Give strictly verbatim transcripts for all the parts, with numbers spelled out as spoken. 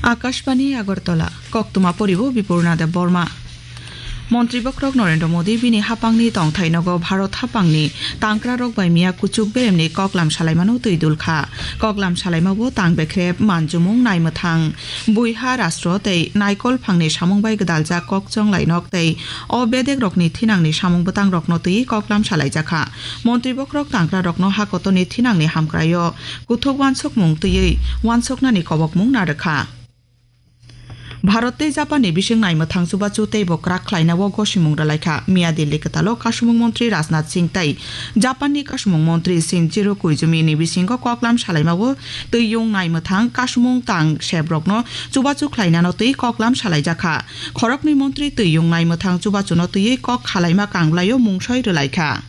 Akashbani Agartala, koktwma poribo Bipurna Deb Borma. Montri bokrok Narendra Modi bini hapangni tongthai nogo Bharat hapangni tangkrarok bai miya kuchuk beremni koklam salaimano twi dulkha. Koklam salaimabo tang bekrep, manjumung, naimwthang, buiha rastro tei naikol phangni samung bai gwdaljak kokchong lainok tei o bedekrokni thinangni samung bwtangrokno twi koklam salaijakha. Montri bokrok tangkrarokno hakotorni thinangni hamkraio kuthuk wansukmung twiwi wansuknani kobokmung narwkha. Bharat tei Japanni bising naimwthang chubachu teibo kwrak khlainao gosimung rwlaikha. Miya Delhi kwtalo Kasumung Montri Rajnath Singh tei Japanni Kasumung Montri Shinjiro Koizumi ni bisingo koklam salaimao twiyung naimwthang kasumung tang sebrokno chubachu khlainano twi koklam salaijakha. Khoroknwi montri twiyung naimwthang chubachuno twiwi kok khalaima kanglaio mungsoi rwlaikha.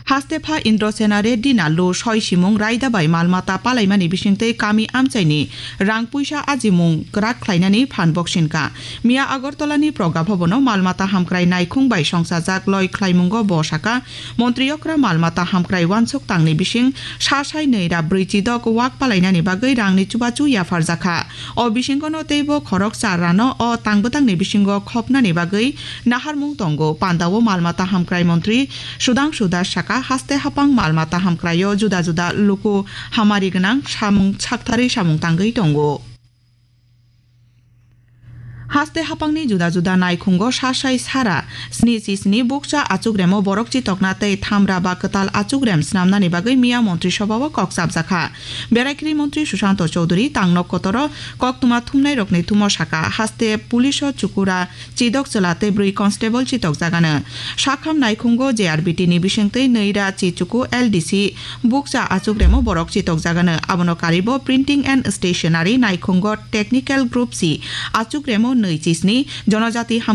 Haste pha Indrasena Reddy Nallu soi simung raida bai mal mata palaimani bisingtwi kami amchaini rang puisa ajimung kwrak khlainani phan boksinka. Miya Agartalani Progabhabono mal mata hamkrai naikhung bai songsajak loi khlaimungo bo saka, Montri okra mal mata hamkrai wansuk tangni bising sa sai nwi ra brwi chidok wak palainani bagwi rangni chubachu yapharjakha. O bisingono teibo khorok char rano o tangbwtangni bisingo khopnani bagwi naharmung tongo. Pandao mal mata hamkrai montri Sudhangshu Das saka, haste hapang mal mata hamkraio juda juda luku hamari gwnang samung saktharwi samung tangwi tongo. Haste hapangni juda juda naikhungo sa sai sara sni chi sni bukcha achukremo borok chitokna tei thamra ba kwtal achukrem snamnani bagwi miya Montri Sobhao kok chapjakha. Beraikri Montri Sushanto Chowdhury tangno kotoro koktwma thumnairokni thumo saka, haste puliso chukura chidok chwla tei bwrwi constable chitokjagano. Sakham naikhungo J R B T ni bisingtwi nwi ra chichuku L D C bukcha achukremo borok chitokjagano. Abono karibo Printing and Stationery naikhungo Technical Group C achukremo nwi chisni, Jonojati ham